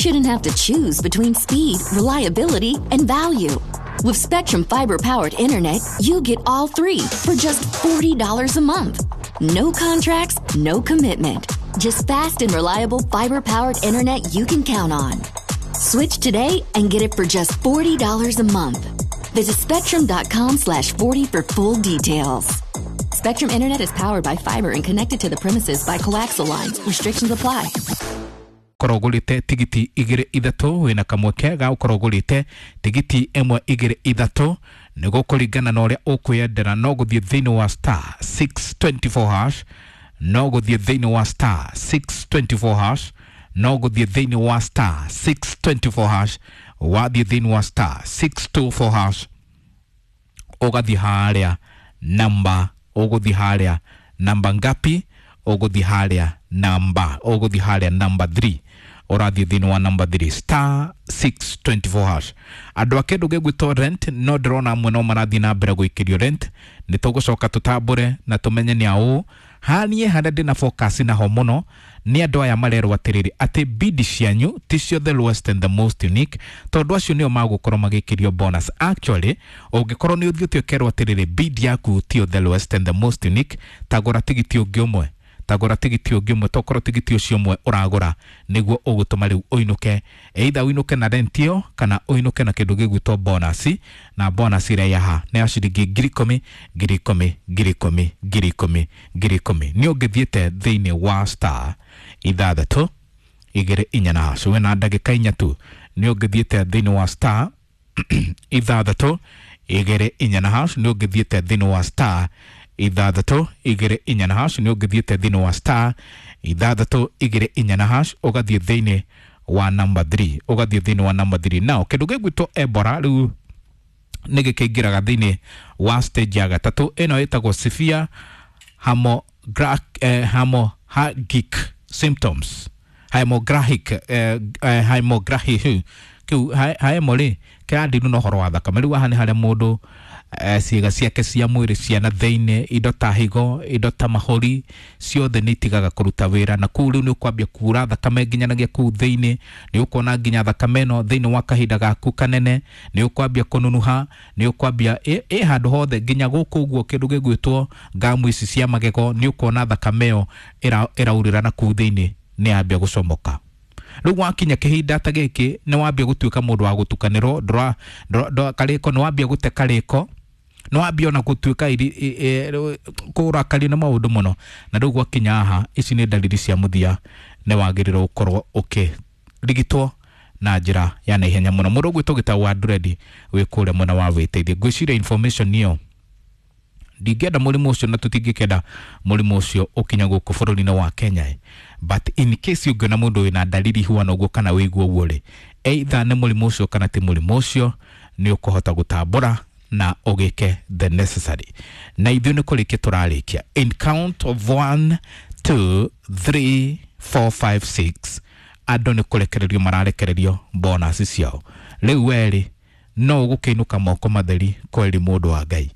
shouldn't have to choose between speed, reliability, and value. With Spectrum fiber-powered internet, you get all three for just $40 a month. No contracts, no commitment. Just fast and reliable fiber-powered internet you can count on. Switch today and get it for just $40 a month. Visit spectrum.com/40 for full details. Spectrum Internet is powered by fiber and connected to the premises by coaxial lines. Restrictions apply. Korwo ũgũrĩte tigiti igĩrĩ ithatũ, wĩna kamweke ga gũkorwo ũgũrĩte tigiti ĩmwe igĩrĩ ithatũ, nĩguo kũringana na ũrĩa ũkwĩyendera. No gũthiĩ thĩinĩ wa star 624 hash, no gũthiĩ thĩinĩ wa star 624 hash, no gũthiĩ thĩinĩ wa star 624 hash. Wathiĩ thĩinĩ wa star 624 hash, ũgathiĩ harĩa namba, ũgũthiĩ harĩa namba ngapi? Ũgũthiĩ harĩa namba, ũgũthiĩ harĩa namba 3. Ũrathiĩ thĩinĩ wa namba 3, star 624 hash. Andũ a kĩndũ gĩgwĩtwo rent, no ndĩrona amwe no marathiĩ na mbere gũikĩrio rent. Nĩ tũgũcoka tũtambũre na tũmenye nĩ aũ. Haniĩ harĩa ndĩna focus naho mũno nĩ andũ aya marerwo atĩrĩrĩ, atĩ bidi cianyu ticio the lowest and the most unique, tondũ acio nĩo magũkorwo magĩkĩrio bonus. Actually, ũngĩkorwo nĩ ũthiĩte ũkerwo atĩrĩrĩ, bid yaku tio the lowest and the most unique, tagũra tigiti ũngĩ ũmwe, tagũra tigiti ũngĩ ũmwe. Tokorwo tigiti ũcio ũmwe ũragũra nĩguo ũgũtũma rĩu ũinũke, either ũinũke na rent ĩyo kana ũinũke na kĩndũ gĩgwĩtwo bonus. Na bonus ĩrĩa yaha nĩ ya ciringi 10,000, 10,000, 10,000, 10,000, 10,000. Nĩ ũngĩthiĩte thĩinĩ wa star ithathatũ igĩrĩ inya na hash, wĩna ndagĩka 4 tu. Nĩ ũngĩthiĩte thĩinĩ wa star ithathatũ igĩrĩ inya na hash, nĩ ũngĩthiĩte thĩinĩ wa star ithathatũ igĩrĩ inya na hash, nĩ ũngĩthiĩte thĩinĩ wa star ithathatũ igĩrĩ inya na hash, ũgathiĩ thĩinĩ wa number 3, ũgathiĩ thĩinĩ wa number 3. Now, kĩndũ gĩgwĩtwo Ebola rĩu nĩ gĩkĩingĩraga thĩinĩ wa stage ya gatatũ. Ĩno ĩtagwo severe hemorrhagic symptoms, hemorrhagic, hemorrhagic kĩu hemo rĩ kĩrandiru na ũhoro wa thakame. Rĩu haha nĩ harĩa mũndũ ciĩga ciake cia mwĩrĩ cia na thĩinĩ, indo ta higo, indo ta mahũri, ciothe nĩ itigaga kũruta wĩra, na kũu rĩu nĩ ũkwambia kura thakame nginyanagia kũu thĩinĩ. Nĩ ũkuona nginya thakame ĩno thĩinĩ wa kahinda gaku kanene, nĩ ũkwambia kũnunuha, nĩ ũkwambia ĩ handũ hothe nginya gũkũ ũguo kĩndũ gĩgwĩtwo ngamu ici cia magego, nĩ ũkuona thakame ĩyo ĩraurĩra na kũu thĩinĩ, nĩ yambia gũcomoka. Rĩu wakinya kĩhinda ta gĩkĩ, nĩ wambia gũtuĩka mũndũ wa gũtukanĩrwo, karĩko, nĩ wambia gũte karĩko, nĩ wambia ona gũtuĩka kũrakario nĩ maũndũ mũno. Na rĩu gwakinya haha, ici nĩ ndariri cia mũthia, nĩ wagĩrĩirwo gũkorwo ũkĩrigitwo na njĩra ya naihenya mũno. Mũndũ ũgwĩtwo Gĩtau wa Nduredi wĩ kũrĩa mwena wa wĩteithie. Ngwĩciria information ĩyo, ndingĩenda mũrimũ ũcio na tũtingĩkenda mũrimũ ũcio ũkinya gũkũ bũrũri-inĩ wa Kenya, but in case ũngĩona mũndũ wĩna ndariri huana ũguo kana wĩigua ũguo rĩ, either nĩ mũrimũ ũcio kana ti mũrimũ ũcio, nĩ ũkũhota gũtambũra na ũgĩke the necessary. Na ithuĩ nĩ kũrĩkia tũrarĩkia. In count of 1, 2, 3, 4, 5, 6, andũ nĩ kũrekererio mararekererio bonus ciao. Rĩu werĩ no ũgũkĩinũka moko matheri kweri mũndũ wa Ngai.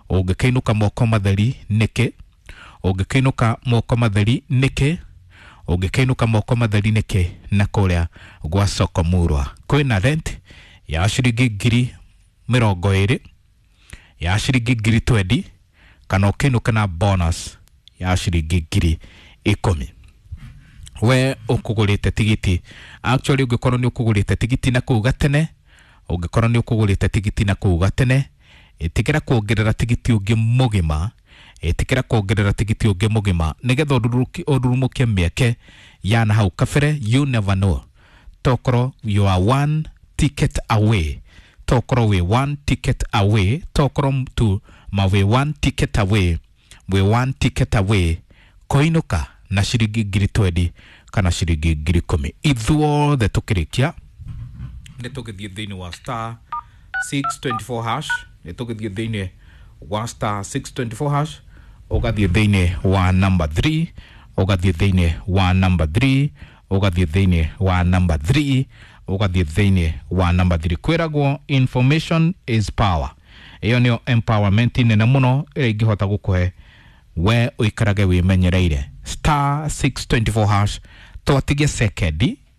Ũngĩkĩinũka moko matheri nĩkĩ? Ũngĩkĩinũka moko matheri nĩkĩ? Ũngĩkĩinũka moko matheri nĩkĩ? Na kũrĩa gwa soko murwa kwĩna rent ya ciringi 20,000, ya ciringi 20,000, kana ũkĩinũka na bonus ya ciringi 10,000. We ũkũgũrĩte tigiti, actually ũngĩkorwo nĩ ũkũgũrĩte tigiti na kũu gatene, ũngĩkorwo nĩ ũkũgũrĩte tigiti na kũu gatene, ĩtĩkĩra kuongerera tigiti ũngĩ mũgima, ĩtĩkĩra kuongerera tigiti ũngĩ mũgima nĩgetha ũrurumũkie mĩeke ya na hau kabere. You never know, tokorwo you are one ticket away, tokorwo wĩ one ticket away, tokorwo tu ma wĩ one ticket away, wĩ one ticket away kũinũka na ciringi 20,000 kana ciringi 10,000. Ithuothe tũkĩrĩkia nĩ tũgĩthiĩ thĩinĩ wa star 624 hash, nĩ tũgĩthiĩ thĩinĩ wa star 624 hash, ũgathiĩ thĩinĩ wa number 3, ũgathiĩ thĩinĩ wa number 3, ũgathiĩ thĩinĩ wa number 3, ũgathiĩ thĩinĩ wa number 3. Kwĩragwo information is power. Ĩyo nĩyo empowerment nene mũno ĩrĩa ingĩhota gũkũhe we ũikarage wĩmenyereire. Star 624 hash, twatigie sekendi.